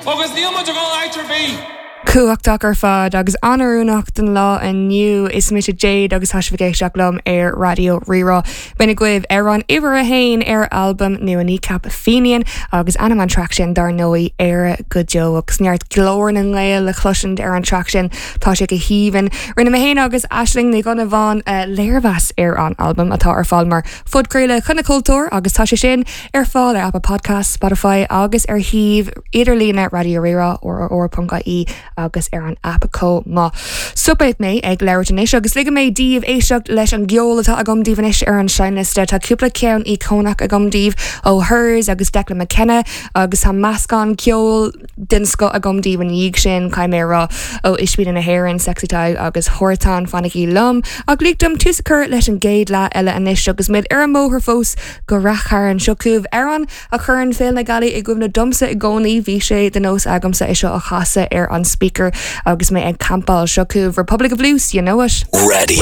Agus níl muid ag dul áit ar bith! Cumhachtach ar fad agus an-oiriúnach don lá inniu. Is mise Jade agus tá sibh ag éisteacht liom ar Raidió Rí-Rá. B'in agaibh amhrán uimhir a haon ar albam nua Kneecap, Fenian, agus ainm an traic sin dar ndóigh Éire go Deo. Agus neart glór na nGael le chloisint ar an traic sin, tá sé go haoibhinn. Rinne mé féin agus Aisling Ní Dhonnabháin léirmheas ar an albam atá ar fáil mar phodchraoladh Choinne Cultúir agus tá sé sin ar fáil ar Apple Podcasts, Spotify agus ar shuíomh idirlíne Raidió Rí-Rá, rrr.ie agus ar an aip chomh maith. Stopfaidh mé ag labhairt anois agus ligfidh mé daoibh éisteacht leis an gceol atá agam daoibh anois ar an seinnliosta. Tá cúpla ceann íocónach agam daoibh ó Hers agus Declan McKenna agus tá meascán ceoil den scoth agam daoibh ina dhiaidh sin, caithfidh mé a rá, ó Ispíne na hÉireann, Sexy Tadhg agus Hortán, fanaigí liom. Ach lig dom tús a chur leis an gcéad leath eile anois agus muid ar an mbóthar fós go Rath Chairn. Seo chugaibh amhrán a chuireann Féile na Gealaí i gcuimhne domsa i gcónaí. Bhí sé de nós agamsa é seo a chasadh ar an speaker agus mé ag campáil. Seo chugaibh Republic of Loose, you know it. Raidió.